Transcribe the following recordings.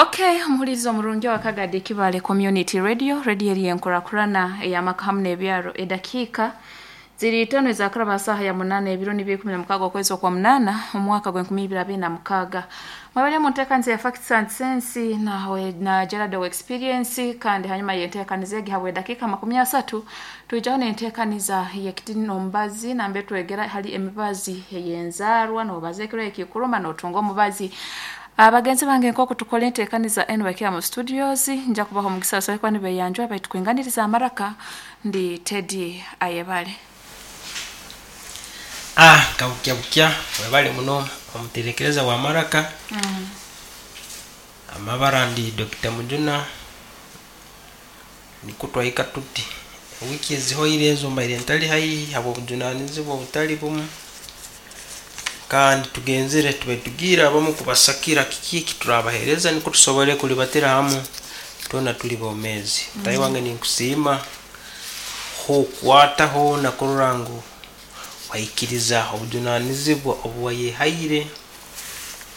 Okay, omuhuriza omurungi wa Kagadi Kibale Community Radio, radio eri enkurakurana ey'amaka hamu n'ebyaro. Edakiika ziri itaano ezakuraba saaha ya 8, ebiro nibyo 16 okwezi okwa 8 omwaka gw'e2026. Mwebale mu nteekaniza ya Facts and Sense nawe na Gerald wa Experience, kandi hanyuma y'enteekaniza egi habwa edakiika 30 twijaho n'enteekaniza y'ekitini omubazi nambe twegera hali emibazi ey'enzaarwa, nobaza ekiro ekikuruma notunga omubazi. Abagenzi bange nk'oku tukora enteekaniza enu bakira mu studios, nja kubaha omugisa basobole kuba nibeyanjura, baitu kwinganiriza amaraka ndi Teddy Ayebare. Kabukya bukya, webale muno omuterekereza wa maraka. Amabara ndi Dr. Mujuna, nikwo twahika tuti. Wiiki ezihoire ezo mbaire ntali haihi habw'obujunanizibwa obutali bumu, kandi tugenzere tube tugiire abamu kubasakira kiki eki turabaheereza nikwo tusobole kulibatira hamu twena tuli bomeezi. Mutahi wange ninkusiima hokwataho na kurora ngu waikiriza obujunanizibwa obu wayehaire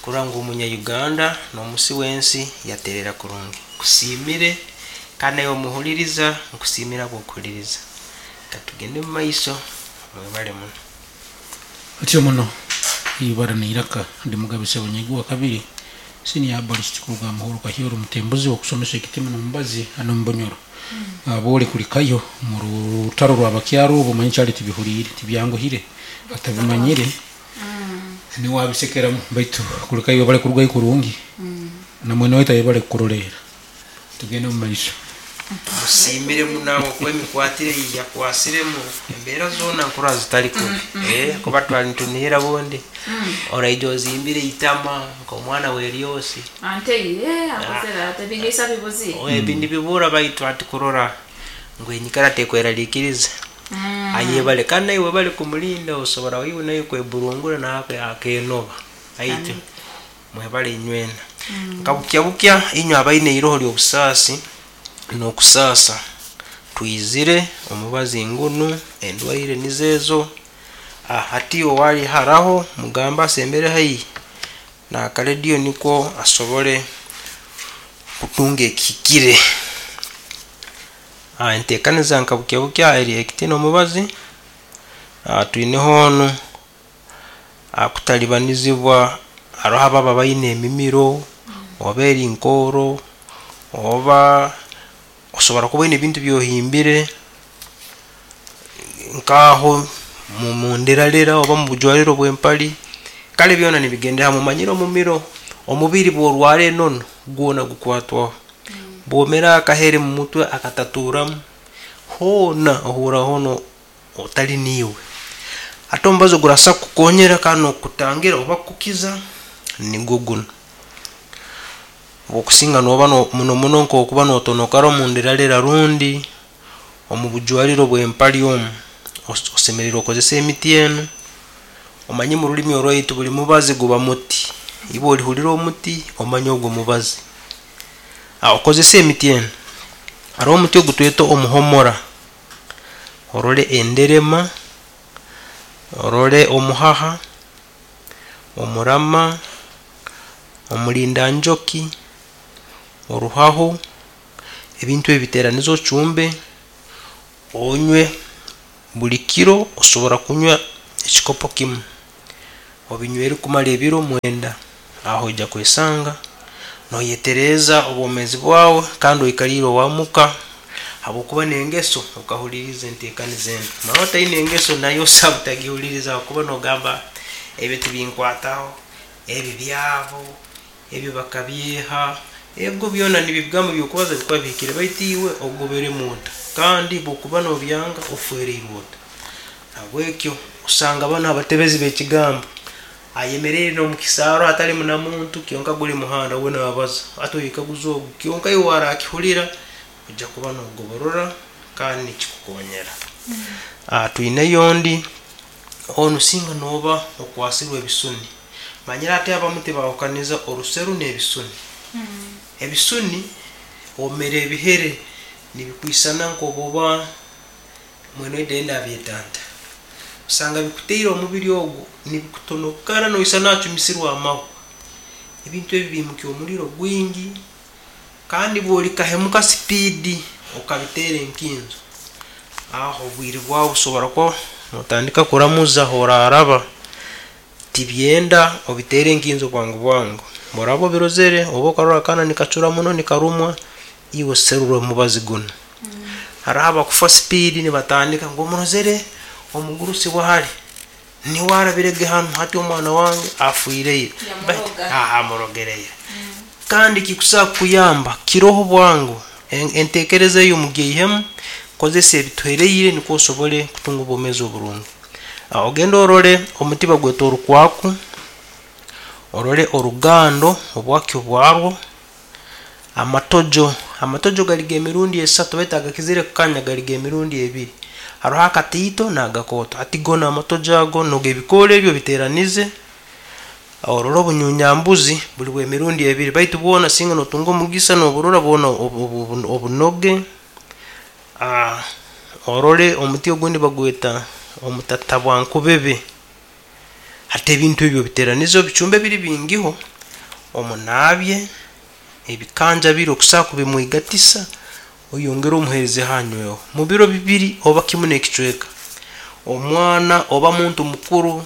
kurora ngu omunya-Uganda n'omusi w'ensi yaterera kurungi. Nkusiimire kandi naiwe omuhuliriza nkusiimire habw'okuhuliriza. Katugende omu maiso, mwebale muno. Otyo muno ibara n'eiraka ndi Mugabe Ssebunyigwa wa kabiri, senior herbalist kuruga Muhoro Kahyoro Mutembuzi okusomesa ekitima n'omubazi hano omu Bunyoro. Aboole kulikayo mu rutaro rw'abakyaro obu omanyi kyali tibihuriire, tibyanguhire, atabimanyire niwe abisekeramu, baitu kulikayo webale kurugayo kurungi na mwene waitu ayebale kukuroleera. Tugende omu maiso. Musiimire muno ahabw'okuba emikwatire ei yakwasiremu embeera zoona nkurora zitali kubi. Kuba twali nitunihira bundi oraija ozimbire eitama nk'omwana w'eryosi. Ante ye akozere ati ebiriisa bibuzire. Ebi nibibura, baitu hati kurora ngu enyikara tekweraliikiriza, ayebale kandi naiwe webale kumulinda, osobora iwe naiwe kweburungura nawe akenoba. Baitu mwebale inywena. Nka bukya bukya inywe abaine eiroho ly'obusaasi n'okusaasa, twizire omubazi ngunu, endwaire nizo ezo. Hati owali haraho mugambe asembere haihi n'akarediyo nikwo asobole kutunga ekihikire. Enteekaniza nka bukya bukya eri ekitini omubazi, twineho onu kutalibanizibwa, haroho ababa baine emimiro oba eri nkooro, oba osobora kuba oine ebintu byohimbire nk'aho munderarera oba mubujwariro bw'empali, kale byona nibigendera hamu. Omanyire omumiro, omubiri bw'orwara enono gwona gukwatwaho, bwomera akahere mu mutwe akatatuuramu, hoona ohurra hoona otali niiwe. Hati omubazi ogurasobola kukukonyera kandi n'okukutangira oba kukukiza nigwo gunu. Obwokusinga nooba muno muno nk'okuba notonokara omu nderarera rundi omu bujwariro bw'empali omu, osemeriire okozese emiti enu. Omanye mu rulimi orwaitu buli mubazi guba muti, iwe olihurira omuti omanye ogwo mubazi. Okozese emiti enu, haroho omuti ogu tweta omuhomora, orole enderema, orole omuhaha, omurama, omulindanjoki, oruhaho, ebintu ebi biteranize ocumbe, onywe buli kiro. Osobora kunywa ekikopo kimu, obinywere kumara ebiro 9, aho oija kwesanga noyetereeza obwomeezi bwawe kandi oikaliire owamuka habwokuba n'engeso okahuliriza enteekaniza enu. Mara otaine engeso nayo osaba otagihuliriza habwokuba nogamba ebyo tibinkwataho, ebi byabo, ebyo bakabyeha, ego byona nibyo ebigambo by'okubaza bikuba bihikire, baitu iwe ogoberemu ota? Kandi bw'okuba nobyanga ofwereirwe ota? Nahabwekyo osanga banu abatebezi b'ekigambo ayemeriire n'omu kisaaro hatalimu na muntu, kyonka guli muhanda we nabaza. Hati oyekaguza ogu, kyonka iwe warakihulira ojja kuba nogoborora kandi nikikukonyera. Twineyo ondi, onu singa noba okwasirwe ebisuni. Manyire hati abamu tibahukaniza oruseru n'ebisuni. Ebisuni omera ebihere nibikwisana nk'obuba mwene oide abyetanta. Osanga bikuteire omubiri ogu nibikutonokara noisana acumisirwe amahwa. Ebintu ebi biimukya omuriro gwingi kandi bw'olikahemuka sipiidi okabiteera enkinzo, aho obwire bwawe busobora kuba notandika kuramuza ahoraaraba. Tibyenda obiteere enkinzo bwangu bwangu. Bworaba obirozere oba okarora akaana nikacura muno nikarumwa, iwe serura omubazi gunu. Haroho abakufa sipiidi nibatandika ngu omurozere omugurusi wahali niwe arabirege hanu hati omwana wange afwire ira. Baitu amurogereire. Kandi kikusobora kukuyamba kiroho bwangu. Entekereza eyo mugyeihemu, kozesa ebituhereire nukwo osobole kutunga obwomeezi oburungi. Ogende orole omuti bagweta orukwaku, orole orugando obwakyo bwarwo, amatojo, amatojo gali g'emirundi esatu baitu agakizire kukanya gali g'emirundi ebiri. Haroho akataito n'agakooto. Hati goona amatojo ago noga ebikoora ebi obiteeranize, orole obunyunyambuzi buli bw'emirundi ebiri baitu bwona singa notunga omugisa noburora bwona obunoge. Orole omuti ogundi bagweta omutatabwankubebe. Hati ebintu ebi obiteranize obicumbe biri bingiho, omunaabye, ebikanja biri okusobora kubimwigatisa, oyongere omuheerezeho anyweho. Mu biro bibiri oba kimu n'ekicweka, omwana oba muntu mukuru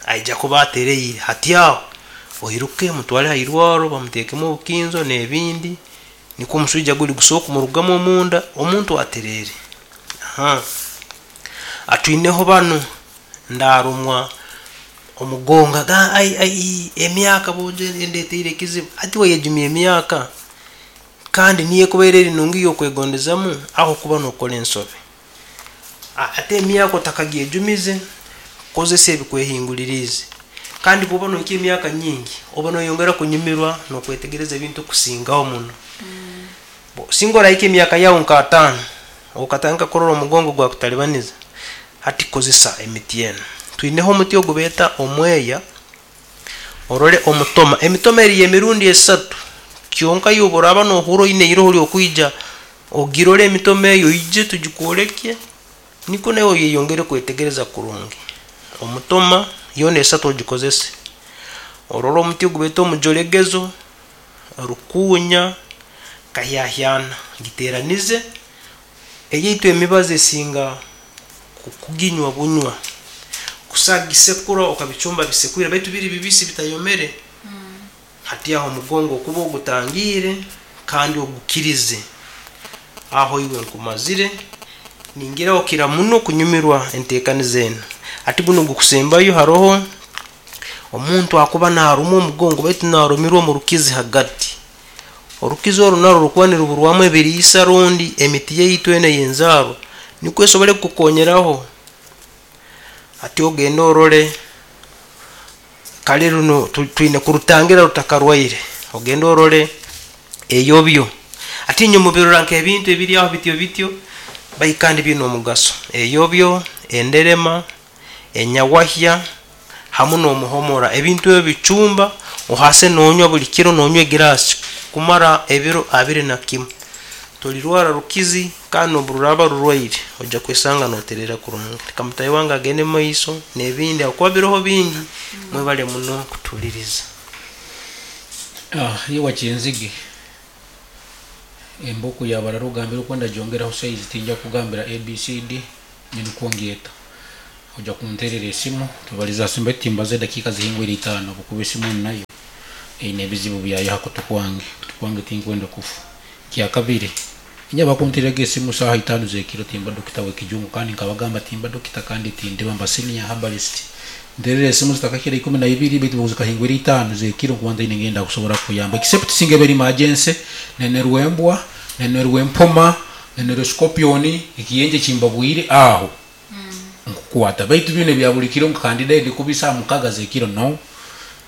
aija kuba atereire. Hati aho oiruke omutwale ha irwarro bamuteekemu obukinzo n'ebindi, nikwo omuswija guli gusobole kumurugamu omunda, omuntu atereere. Atwineho banu ndarumwa omugongo agamba ai ai emyaka boojo endeteire ekizibu. Hati wayejumya emyaka kandi niyo ekubaire eri nungi ey'okwegondezamu aho okuba nokora ensobi. Ate emyaka otakagyejumize, kozesa ebikwehinguliriize. Kandi bwoba nohikya emyaka nyingi, oba noyongera kunyumirwa n'okwetegereza ebintu kusingaho muno. Singa orahika emyaka yaawe nk'ataano, okatandika kurora omugongo gwakutalibaniza, hati kozesa emiti enu. Twineho omuti ogu beeta omweya, orole omutoma. Emitoma eri y'emirundi esatu, kyonka iwe obu oraaba nohurra oine iroho ry'okwija ogirole emitoma eyo oije tugikwolekye, nikwo naiwe oyeyongere kwetegereza kurungi. Omutoma yoona esatu ogikozese. Orole omuti ogu beeta omujolegezo, rukuunya, kahyahyana, giteeranize. Eyaitu emibazi esinga kuginywa bunywa, kusa gisekura okabicumba bisekwire baitu biri bibisi bitayomere. Hati aho omugongo okuba ogutangiire kandi ogukirize. Aho iwe nkumazire, ningira okira muno kunyumirwa enteekaniza enu. Hati gunu ogukusembayo haroho omuntu akuba narumwa omugongo baitu narumirwa omu rukizi hagati. Orukizi oru narwo rukuba niruburwamu ebiriisa rundi emiti yaitu enu ey'enzaarwa nukwo esobole kukukonyeraho. Hati ogende orole kale runu twine kurutangira rutakarwaire, ogende orole eyobyo. Hati inywe mubirora nk'ebintu ebiri aho bityo bityo, baitu kandi biine omugaso. Eyobyo, enderema, enyawahya, hamu n'omuhomora. Ebintu ebi bicumba ohase nonywa buli kiro nonywa egiraasi kumara ebiro abiri na kimu. Tolirwara rukizi kandi n'obu ruraaba rurwaire oija kwesanga notereera kurungi. Leka mutaahi wange agende omu maiso n'ebindi habwokuba biroho bingi. Mwebale muno kutuhuliriza. Iwe Kyenzige, embuku ya barara ogambire okwenda gyongeraho size tinja kukugambira ABCD nyowe nikwo ngyeta. Oija kunterera esimu tubalize ha simu baitu timbaza edakiika zihingwire itaano habwokuba esimu enu nayo eine ebizibu byayo ha kutu kwange. Kutu kwange tinkwenda kufa. Ekyakabiri, inye abakuntereraga esimu saaha itaano z'ekiro timba dokita w'ekijungu kandi nkabagamba timba dokita kandi tindiba mba senior herbalist. Nterera esimu zitakakira ikumi na ibiri baitu obu zikahingwire itaano z'ekiro nkuba ntaine ngeri ndakusobora kukuyamba except singa eba eri emergency, nenerwa embwa, nenerwa empoma, nenerwa scorpion, ekiyenje kimbabwire aho nkukwata baitu binu ebya buli kiro nka kandi ndi kubi saaha mukaga z'ekiro no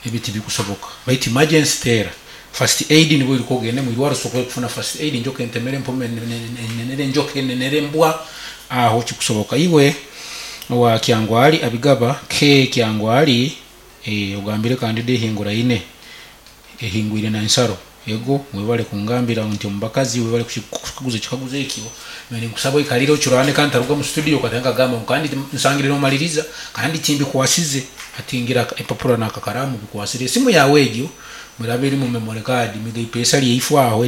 ebi tibikusoboka baitu emergency teera first aid nibwo oiruke ogende mwirwaro osobole kufuna first aid enjoka entemere empoma enenere enjoka enenere embwa aho kikusoboka. Iwe owa Kyangwali Abigaba K Kyangwali ogambire kandida ehinguraine ehingwire na nsaro. Ego webale kungambira nti omubakazi webale kukaguza ekikaguzo ekyo. Ninkusaba oikalire ocurane kandi taruga mu studio katanga kagamba ngu kandi nsangire nomaliriza kandi timbikwasize hatingira empapura n'akakaramu bikwasire esimu yawe egyo bweraba eri mu memory card miga ipesa lyaifu aho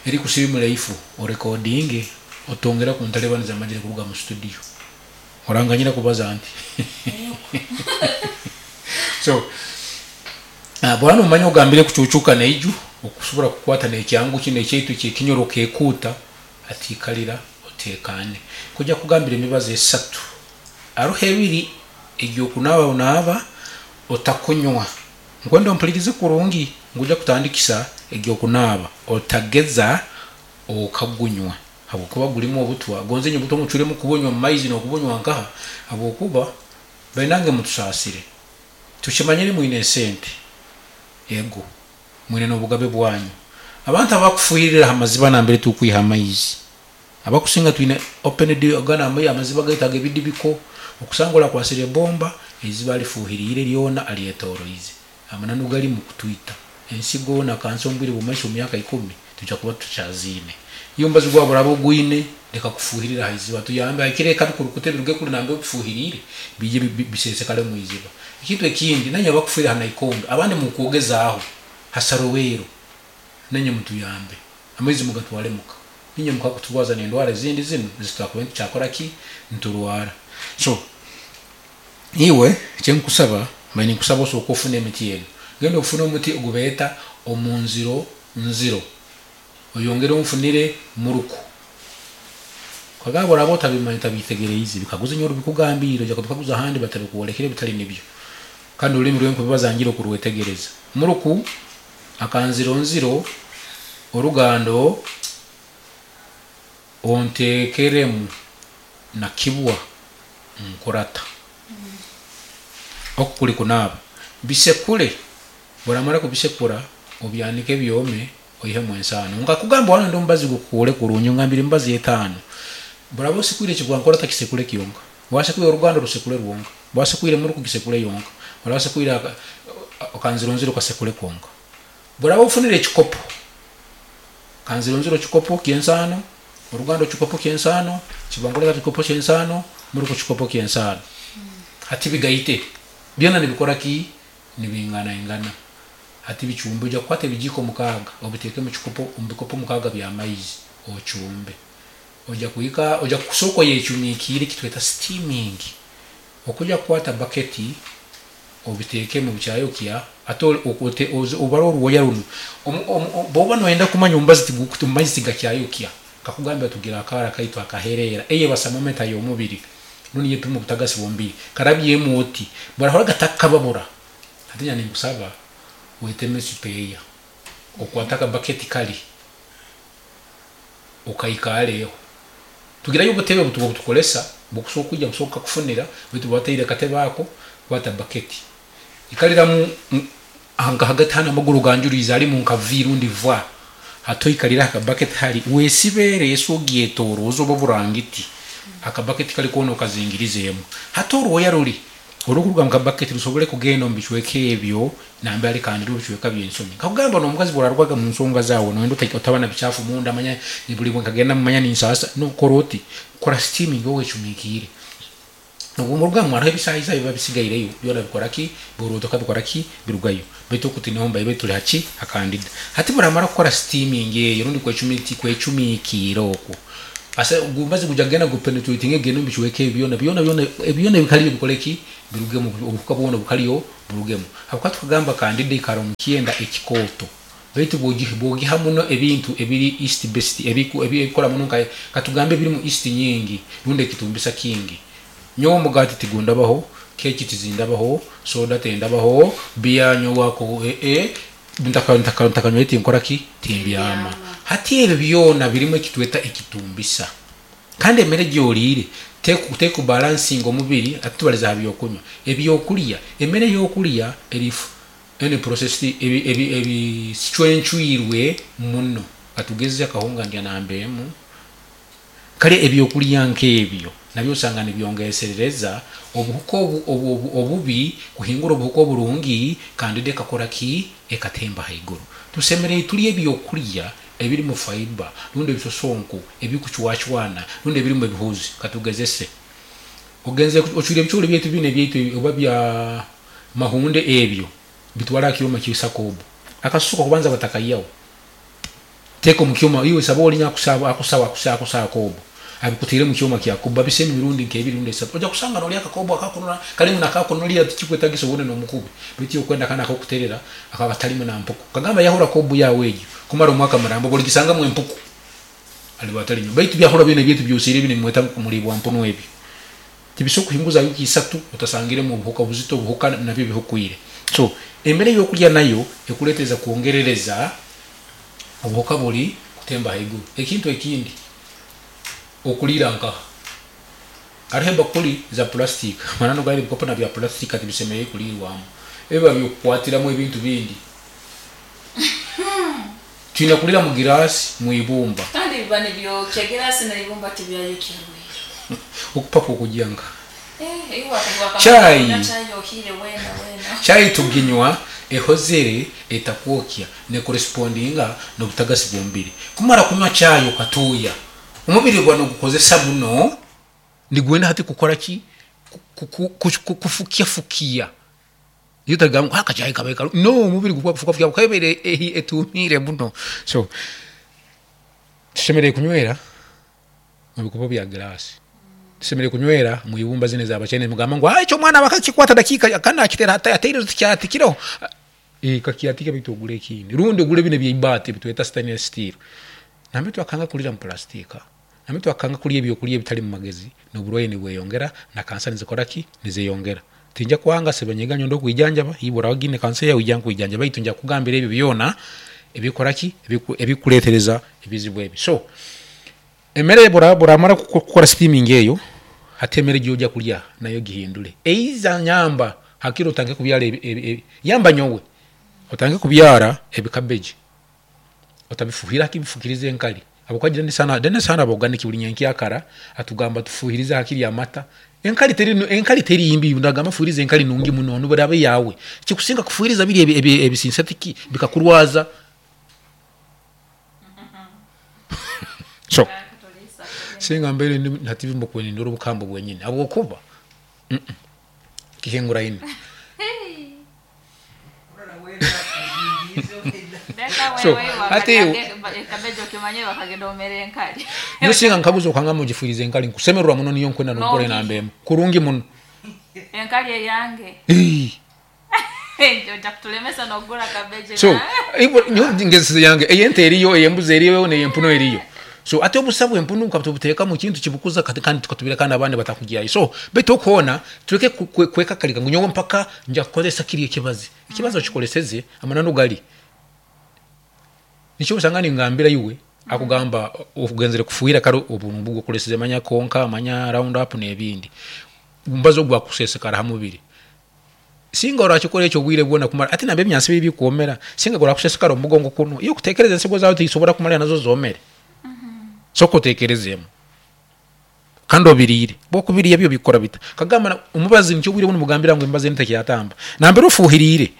erikusirimura ifu orekodinge otongera kuntalebaniza amagire kuruga mu studio. Oranganyira kubaza nti so bwana omanya ogambire kucucuka neiju okusobora kukwata nekyangu kino ekyaitu kyekinyoro kekuuta atiikalira otekane kujja kugambira emibazi esatu aruho ebiri egyokunaaba onaaba otakunywa nkwenda ompulirize kurungi nguja kutandikisa egyokunaaba otageza okagunywa habwokuba gulimu obutwa gonze nyo obutwa mucuremu kubunywa mu maizi nokubunywa nkaha habwokuba bainange mutusaasire tukimanyire mwine esente ego mwine n'obugabe bwanyu abantu abakufuhirira amaziba nambere tukwiha amaizi abakusinga twine open gana amaziba gaitu agebidibiko okusanga orakwasire ebomba eiziba lifuhiriire lyona alyetoroize amananu gali mukutwita ensigo na kanso omu bwire bw'omumaisho omu myaka 10 tujja kuba tukyaziine iyo omubazi gwawe buraba ogwine leka kufuhirira ha iziba tuyambe hakire eka bikurukute biruge kuri nambere obifuhiriire biije bisesekare omu iziba. Ekintu ekindi nanye abakufuhirira ha naikondo abandi mukwogezaaho hasarowero nanye mutuyambe amaizi mugatware muka ninye mukakuturwaza n'endwara ezindi zinu ezitwakuba nitukyakora ki niturwara. So iwe ekyenkusaba mbaire ninkusaba osooke ofune emiti enu genda ofune omuti ogubeeta omunziro nziro oyongere onfunire muruku kagaba oraba otabimanya otabitegereize bikaguze nyowe bikugambiire ojja kubikaguza ahandi batabikuolekere bitali nibyo kandi orulimi rwenkubibaza ngira okurwetegereza muruku akanziro nziro orugando ontekeremu na kibwa nkurata oku kuli kunaaba bisekure buramara kubisekura obyanike byome oihemu ensaano nkakugamba wana ndi omubazi gukuure kurungi ngambire emibazi etaano buraba osekwire ekibwankora takisekure kyonka wasekwire oruganda rusekure rwonka wasekwire muruku gisekure yonka oraba osekwire akanzironziro kasekure konka buraba ofunire ekikopo kanzironziro kikopo ky'ensaano oruganda kikopo ky'ensaano kibwankora kikopo ky'ensaano muruku kikopo ky'ensaano hati bigaite byona nibikora ki nibinganaingana hati bichumbe ojja kukwata ebijiko 6 obiteeke mu kikopo omu bikopo 6 by'amaizi ochumbe ojja kuhika ojja kusooka oyecumikiire kitweta steaming okujja kukwata baketi obiteeke mu kyayokya ate obara oruwoya runu bwoba noyenda kumanya omubazi maizi tigakyayokya kakugambira tugira akaara kaitu akaherera eye basamometa y'omubiri nuni yepima obutagasi bw'omubiri karabyemu oti barahora gatakababura hati nya ninkusaba weteme sipeya okwata akabaketi kali okaikareho tugirayo obutebe butuba butukolesa bukusobola kwija busobola kufunira baitu bwateire akatebe ako kwata baketi ikaliramu nka hagati hano amaguru ganjurize arimu nka v rundi v hato ikalira akabaketi hari wesibere esi ogyetoroza oba burangiti akabaketi kali kona okazingirizemu hato orwoya ruri orukuruga mu kabaketi rusobole kugenda omu bicweka ebyo nambe ali kandi bicweka by'ensonyi nkakugamba n'omukazi bw'orarwaga mu nsonga zaawe noyenda otaba na bichafu munda manya buli bwe nkagenda mumanya ninsasa nokora oti kora steaming owecumikiire nobu muruga hariho ebisaayisayi biba bisigaireyo byona bikora ki burutoka bikora ki birugayo baitu okutiniho mbaire tuli haki akandida hati buramara kukora steaming eyo rundi kwecumikiire okwo asa gumbazi guja genda gupenetrating egenda omu bicweka ebyo byona byona byona ebyona bikaliyo bikore ki birugemu obuhuka bwona bukaliyo burugemu habwokuba tukagamba kandida ikara omu kyenda ekikooto baitu bwogiha muno ebintu ebiri east best ebikora muno nka katugambe ebirimu east nyingi rundi ekitumbisa kingi nyowe omugati tigundabaho keki tizindabaho soda tendabaho biya nyowako ntakanywa tinkora ki timbyama hati ebyo byona birimu ekitweta ekitumbisa kandi emere gyoliire teku balancing omubiri ati tubaliza ha byokunywa ebyokulya emere y'okulya erifu ene processed ebicwencwirwe muno katugeze akahunga ndya nambemu kale ebyokulya nk'ebyo nabyo osanga nibyongeserereza obuhuka obubi kuhingura obuhuka oburungi kandi ekakora ki ekatemba haiguru. Tusemereire turye ebyokurya ebirimu fiber rundi ebisosonko ebikucwacwana rundi ebirimu ebihuuzi. Katugezese. Ogenze ocwire ebicoori byaitu binu ebyaitu oba bya mahunde ebyo bitwale aha kyoma kyisa kobu. Akasusu kokubanza batakaihaho. Teeka omu kyoma iwe saba orinya akusaho akusaho kobu abikutaire omu kyoma kya kobu babisemu emirundi nk'ebiri rundi esatu. Oja kusanga norya akakobu akakunura karimu nakakunurira tikikwetagisa obone n'omukubi baitu iwe okwenda kanu akokuterera ako akatarimu na mpuku. Kagamba yahura kobu yawe egyo kumara omwaka muramba obu origisangamu empuku aliba atari nyowe. Baitu byahura byona ebyaitu byosiire binu ebimweta ngu kumuribwa mpunu ebyo tibisobola kuhinguza wiiki isatu otasangiremu obuhuka obuzito obuhuka nabyo bihukwire. So emere eyokurya nayo ekuretereza kwongerereza obuhuka buri kutemba ahaiguru. Ekintu ekindi okuriira nkaha? Hariho ebakuri za purasitika amananu gari ebikopo na bya purasitika tibisemereire kuriirwamu ebiba byokukwatiramu ebintu bindi. Twine kuriira mu giraasi mwibumba. Kandi biba nibyokya giraasi neibumba tibyayokya rwire. Okupapa okugya nka. Eh, iwe wakamara Chai. kunywa chai yohire wena wena. Chai tuginywa ehozere etakwokya nekorespondinga nobutagasi bwomubiri. Kumara kunywa chai okatuuya omubiri guba nigukozesa muno nigwenda hati kukora ki? Kufukyafukiya. Iyo otagamba ngu akachayi kabaire karungi no omubiri guba gukufukafukiya ahabwokuba ebaire etuumiire muno. So tushemereire kunywera mubikopo bya giraasi. Tusemereire kunywera omu ibumba zinu ez'abachaina mugamba ngu ekyo omwana bakakikwata dakiika kandi nakiteera ataireho tikyatikireho. Kakyatike baitu ogure ekindi rundi ogure binu ebyeibaati ebitweta stainless steel. Nambere twakanga kuriira mu purasitika, nambere twakanga kurya ebyokurya ebitarimu magezi noburwaire nibweyongera na kansa nizikora ki? Nizeyongera. Tinja kwanga Sebanyega nyowe ndokwijanjaba iwe oraba ogiine kansa yawe ija nkwijanjabe baitu nja kukugambira ebyo byona ebikukora ki? Ebikukuretereza ebizibu ebi. So emere bworamara kukora steaming eyo, hati emere eyi oja kurya nayo ogihindure. Eiza nyamba hakiri otandike kubyara yamba nyowe otandike kubyara ebikabeji otabifuhira hakiri bifukirize enkari ahabwokuba Denis hanu aba organic buri nyenkyakara atugamba tufuhirize hakiri amata. Enkari teri enkari teri mbi nagamba fuhiriza enkari nungi muno nobu eraba eyawe. Ekikusinga kufuhiriza biri ebi synthetic bikakurwaza. So singa mbaire ndi hati mbakubaire nindora obukambo bwenyini ahabwokuba kihinguraine. So hati nyowe singa nkaguza okangamba ngifuhirize enkari nkusemererwa muno niyo nkwenda nokukora enamba emu kurungi muno. Enkari eyange. So nyowe ngezesize yange eyente eriyo, eyembuzi eriyo, neyempunu eriyo. So hati obusa bwempunu nkatubuteeka omu kintu kibukuza kandi tukatubireka kandi abandi batakugyayo. So baitu okwona tureke kwekakarika ngu nyowe mpaka nja kukozesa kiri ekibazi. Ekibazi okikoleseze amananu gari nikyo osanga ningambira iwe akugamba ogenzere kufuhira kare obu okoleseze manya konka manya round up nebindi. Omubazi ogu gwakusesekara ha mubiri. Singa orakikora ekyo obwire bwona kumara hati nambere ebinyansi biri bikwomera singa gurakusesekara omu mugongo kunu iwe okutekereza ensigo zawe tizisobora kumarira nazo zomere. Soka otekerezemu kandi obiriire. Bwokubiriya byo bikukora bita? Kagamba omubazi nikyo obwire obundi mugambira ngu emibazi enu tekyatamba. Nambere ofuhiriire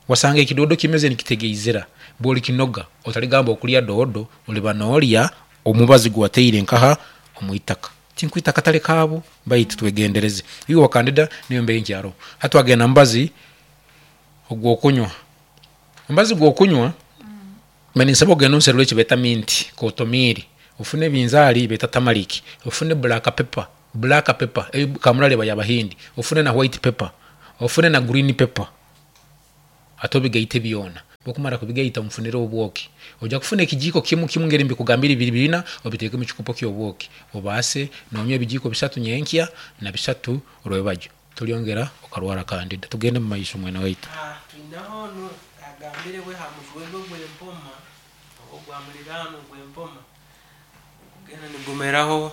wasanga ekidodo kimeze nikitegeizira bworikinoga otarigamba okurya doodo oriba norya omubazi guwateire nkaha omwitaka. Tinkwita akatare kaabo baitu twegendereze. Iwe wa kandida niyo mbeera enkyaroho. Hati twagenda mubazi ogwokunywa. Omubazi gwokunywa mbaire ninsaba ogende onserure ekibeeta mint, kotomiri, ofune ebinzaari beeta tamaric, ofune black pepper, black pepper eyi kamurari eba yabahindi, ofune na white pepper, ofune na green pepper. Hati obigaite byona. Bwokumara kubigaita onfunire obwoki. Oija kufuna ekijiiko kimu kimu ngeri mbikugambire biri bina obiteeke omu kikopo ky'obwoki. Obaase nonywa ebijiiko bisatu nyenkya na bisatu rwebagyo. Toryongera okarwara kandida. Tugende omu maiso mwene waitu. Twinaho onu agambire we ha mujwegwe ogw'empoma oba ogwa muliraanwa ogw'empoma gugenda nigumeraho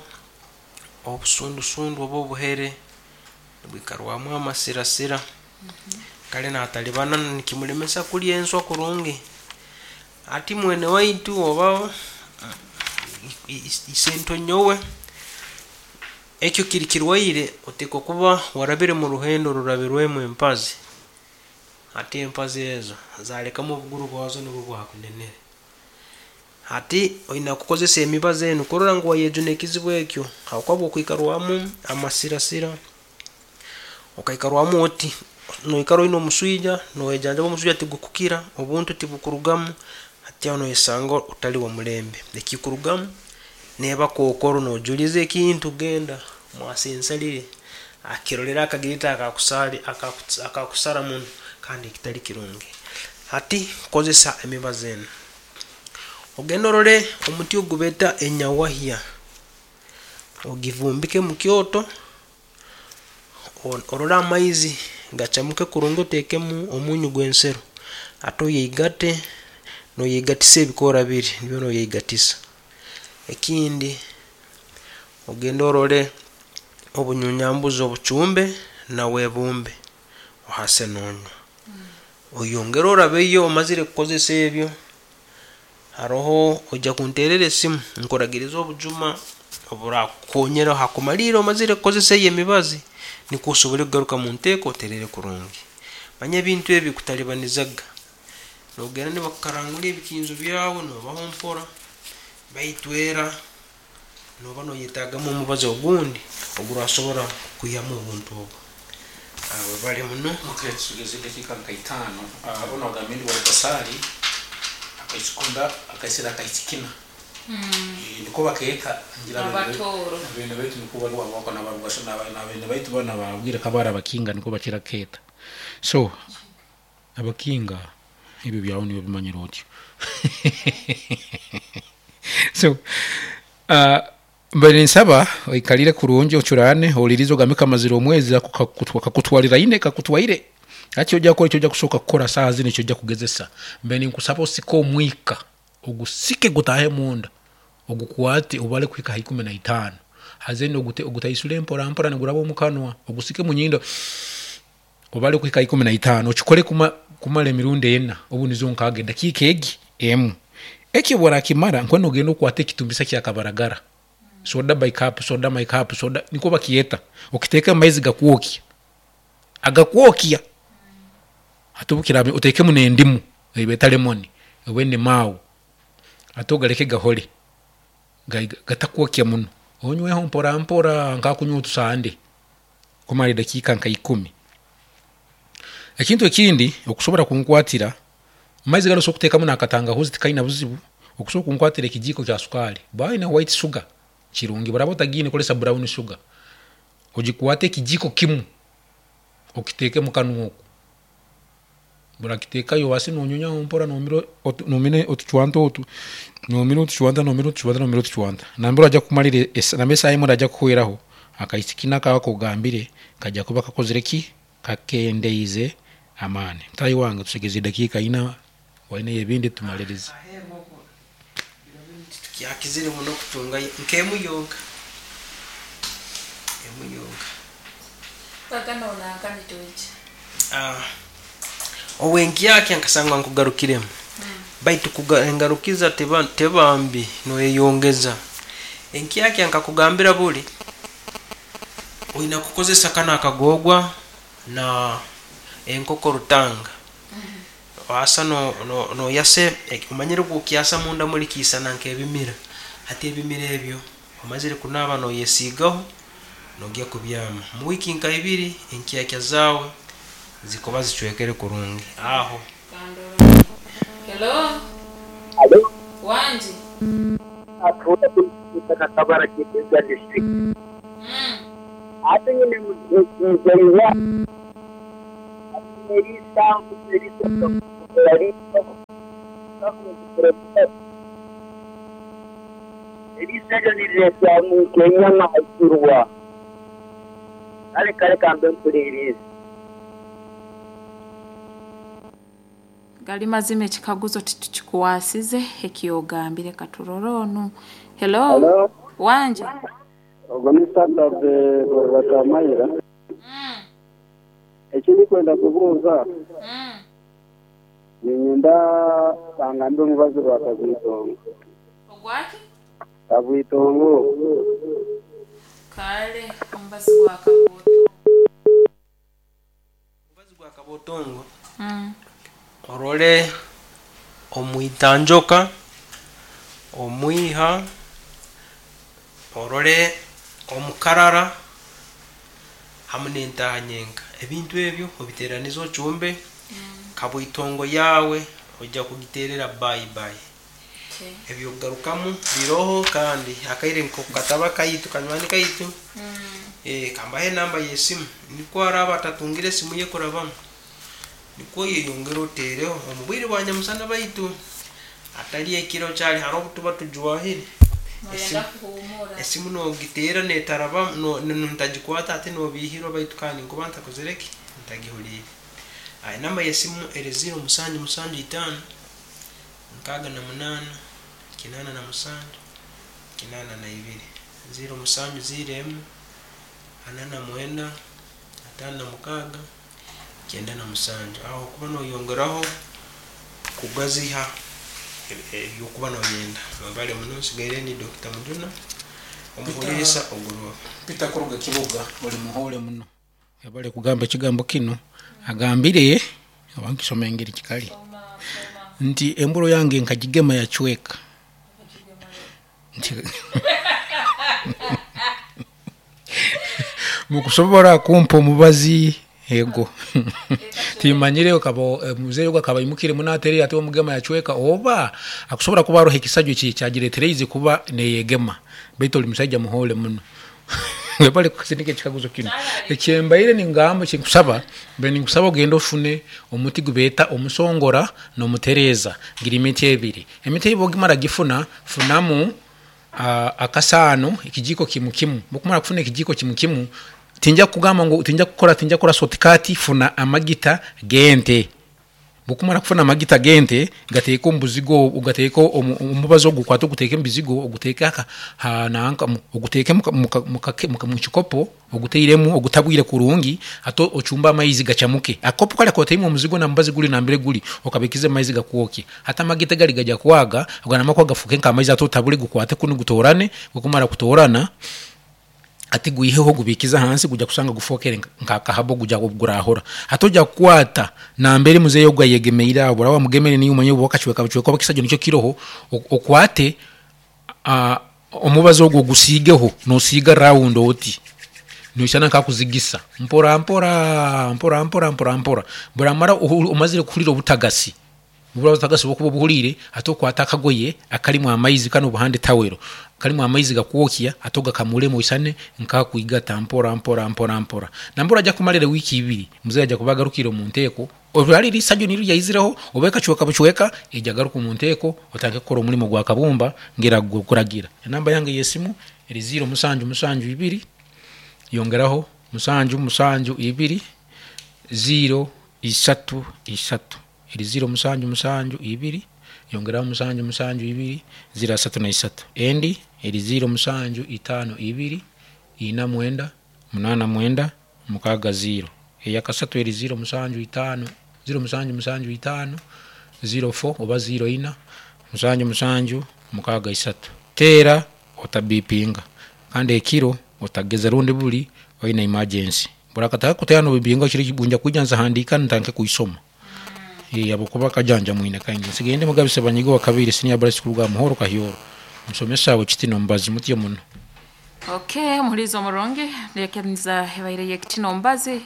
obusundusundu oba obuhere nibwikarwamu amasirasira kare natalibana nikimulemesa kurya enswa kurungi. Hati mwene waitu oba isento nyowe ekyo kiri kirwaire otekwa kuba warabire mu ruhendo orurabirwemu empazi. Hati empazi ezo zalekamu obuguru bwazo nibwo bwakunenere. Hati oina kukozesa emibazi enu kurora ngu wayejuna ekizibu ekyo, habwokuba obu okwikarwamu amasirasira, okaikarwamu oti, noikara oine omuswija, noyejanjaba omuswija tigukukira, obuntu tibukurugamu, hati aho noyesanga otali womulembe. Ekikurugamu neba kokoro nojuliza ekintu genda mwasa ensalire akirolere akagirete akakusara muno kandi ekitali kirungi. Hati kozesa emibazi enu. Ogende orole omuti ogu beeta enyawahya, ogivumbike mukyoto, orole amaizi gachamuke kurungi otekemu omunyu gwensero, hati oyeigate, noyeigatisa ebikoora biri, nibyo noyeigatisa. Ekindi, ogende orole obunyunyambuzi obuchumbe nawe ebumbe, ohase nonywa. Oyongere orabeyo omazire kukozesa ebyo, haroho oija kunterera esimu nkuragirize obujuma oburakukonyera hakumalira omazire kukozesa eyo emibazi nikwo osobole kugaruka munteeko oterere kurungi. Manya ebintu ebi bikutalibanizaga, nogenda nibakukarangura ebikinzo byawe nobaho mpora, baitu era noba noyetagamu omubazi ogundi ogurasobora kukwihamu obuntu obu. Webale muno. Okay, tusigaize edakiika nka itaano. Onu agambire ndi wa Basaali akaisikunda akaisira akaisikina. Niko bakeeta ngira Abatooro. Abene baitu niko bari wabako nabarugasho nabene baitu bana babwire kabara abakinga niko bakira keeta. So abakinga ebyo byawe niwe bimanyire otyo. So mbaire ninsaba oikarire kurungi ocurane ohuririze ogambe kamazire omwezi ako kakutwariraine kakutwaire. Hati eki oja kukora eki oja kusooka kukora saaha zinu eki oja kugezesa mbaire ninkusaba osike omwika ogusike gutaahe munda ogukwate obare kuhika aha ikumi na itaano haza then ogutaisure mpora mpora niguraba omu kanwa ogusike omu nyindo obare kuhika aha ikumi na itaano okikore kumara emirundi ena obu nizo nkaaga edakiika egi emu. Eki obu orakimara nkoku nogenda okwate ekitumbisa kya kabaragara soda by cup, soda my cup, soda nikwo bakyeta okiteeke omu maizi gakwokya agakwokya hati obu kiraabe oteekemu n'endimu ei beeta lemon oba enimaawu hati ogareke gahore gatakwokya muno onyweho mpora mpora nk'akunywa otusande kumara edakiika nka ikumi. Ekintu ekindi okusobora kunkwatira, amaizi ganu osobola kuteekamu n'akatangahuzi tikaine buzibu, okusobora kunkwatira ekijiiko kya sukaali, bwaba oine white sugar kirungi, bworaba otagiine kozesa brown sugar, ogikwate ekijiiko kimu okiteeke mukanwa oku, orakiteekayo obaase nonyonyaho mpora nomira otucwanta otu, nomira otucwanta, nomira otucwanta, nomira otucwanta, nambere oraija kumarira, nambere esaaha emwe eraija kuhweraho, akaisiki nako aku ogambire kaija kuba kakozire ki? Kakendeize amaani. Mutaahi wange tusigaize edakiika ina, waineyo ebindi tumalirize. Tikyakizire muno kutungayo nk'emu yonka, emu yonka. Obwenkyakya nkasangwa nkugarukiremu, baitu engarukiza teba mbi noyeyongeza. Enkyakya nkakugambira buli oina kukozesa kanu akagogwa na enkoko rutanga. Wasa noyasa, omanyire obwokyasa munda muli kiisana nk'ebimira. Hati ebimira ebyo omazire kunaaba noyesiigaho nogya kubyama. Mu wiiki nka ibiri enkyakya zaawe zikuba zicwekere kurungi aho. Hello. Halo. Wangi. Atuura Kitaka Kabara Kitinda district. Ate nyine muzaiwa eriiso eryo nirireetwa nk'enyama haigurwa. Kale kale kambe mpuriiriize. Gali mazima ekikaguzo titukikwasize ekyogambire katurore onu. Hello. Hello. Wangi. Ogwo ni Saturday Gorora Kamaira. Eki ndikwenda kubuuza, niinyenda bangambire omubazi gwa kabwitongo. Ogwaki? Kabwitongo. Kale omubazi gwa kabwotongo. Omubazi gwa kabwotongo. Kabotongo orole omwitanjoka, omwiha, orole omukarara hamu n'entaaha nyenka. Ebintu ebyo obiteeranize ocumbe, kabwitongo yaawe ojja kugiteerera bye bye. Ebyokugarukamu biroho kandi akaire nko kataba kaitu kanywani kaitu, kambahe enamba y'esimu nikwo araaba atatungire esimu ye kurabamu, nikwo oyeyongere oteereho omu bwire bwa nyamusana baitu atari ekiro kyali haroho obu tuba tujwahire. Esimu nogiteera netarabamu, ntagikwata ate nobiihirwa baitu kandi nkuba ntakozire ki? Ntagihuliire. Enamba y'esimu eri 0 musanju musanju itaano, 68, 87, 82. 0 musanju 0 emu, 49, 56, 97. Aho okuba noyongeraho kugaziha ebyokuba noyenda. Mwebale muno, nsigaire ndi Dr. Mujuna, omuhuliisa oguroobe. Peter kuruga Kiboga oli muhoole muno. Webale kugamba ekigambo kinu. Agambire oba nkisoma engeri kikali nti emburo yange nkagigema yacweka. Nti mukusobora kumpa omubazi ego timanyire okaba muzeeyi ogu akaba aimukire muno aterire ati omugema yacweka oba akusobora kuba aroho ekisajwa ekyagiretereize kuba neyegema, baitu oli musaija muhoole muno. Webale kusindika ekikaguzo kinu. Ekyembaire ningamba, ekinkusaba, mbaire ninkusaba ogende ofune omuti gubeeta omusongora n'omutereeza, giri miti ebiri. Emiti ebi bwogimara gifuna, funamu akasaano ekijiiko kimu kimu. Bwokumara kufuna ekijiiko kimu kimu, tinja kukugamba ngu tinja kukora tinja kukora shortcut, funa amagita g'ente. Bwokumara kufuna amagita g'ente, gateeke omu buzigo ogateeke omu mubazi ogu okwate oguteeke omu bizigo, oguteeke nanka oguteeke mu kikopo oguteiremu ogutabwire kurungi, ate ocumbe amaizi gacamuke. Akakopo kare kotairemu omuzigo na mubazi guri nambere guri, okabikiza amaizi gakwokye. Hati amagita gari gaija kwaga, ganamara kwaga gafuuke nk'amaizi ate otabure gukwate kunu gutoorane, bwokumara kutoorana, ati gwiheho ogubikize ahansi guja kusanga gufookere nk'akahabo guja gurahora. Hati oja kukwata nambere muzeeyi ogu ayegemeire aho, bworaba wamugemere niiwe omanye oba akacweka bucweka oba ekisajwa nikyo kiroho, okwate omubazi ogu ogusiigeho nosiiga rawundi oti, noisana nk'akuzigisa mpora mpora mpora mpora mpora mpora. Bworamara omazire kuhurira obutagasi, obutagasi bwokuba obuhuriire, ate okwate akagoye akarimu amaizi kanu obuhande tawero, karimu amaizi gakwokya ate ogakamuremu oisane nk'akwigata mpora mpora mpora mpora. Nambere aja kumarira wiiki ibiri, muzeeyi aja kuba agarukire omu nteeko, oba riri isajwa niryo ryaizireho oba ekacweka bucweka, eija garuka omu nteeko otandike kukora omurimo gwa kabumba ngira kuragira. Enamba yange y'esimu eri 0 musanju musanju ibiri, yongeraho musanju musanju ibiri, 0 isatu isatu. Eri 0 musanju musanju ibiri, yongeraho musanju musanju ibiri, 0 asatu na isatu. Endi eri 0 musanju itaano ibiri, ina mwenda, munaana mwenda, mukaaga 0. Eyakasatu eri 0 musanju itaano, 0 musanju musanju itaano, 04 oba 0 ina, musanju musanju, mukaaga isatu. Teera otabipinga, kandi ekiro otageza rundi buri oine emergency. Burakataka kuteera nobibinga nja kwija nzihandiika ntandike kuisoma. Habwokuba akajanja mwine kaingi. Nsigaire ndi Mugabe Sebanyiga owa kabiri senior balaisi kuruga Muhoro Kahyoro. Musomesa w'ekitino mubazi mutyo muno. Okay, omuhuriizi omurungi, lekeniza ebaire y'ekitino omubazi,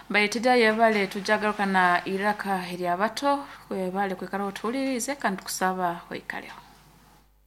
mbaire yebale tujagaruka na iraka eryabato, webale kwikara otuhuliriize kandi tukusaba oikaleho.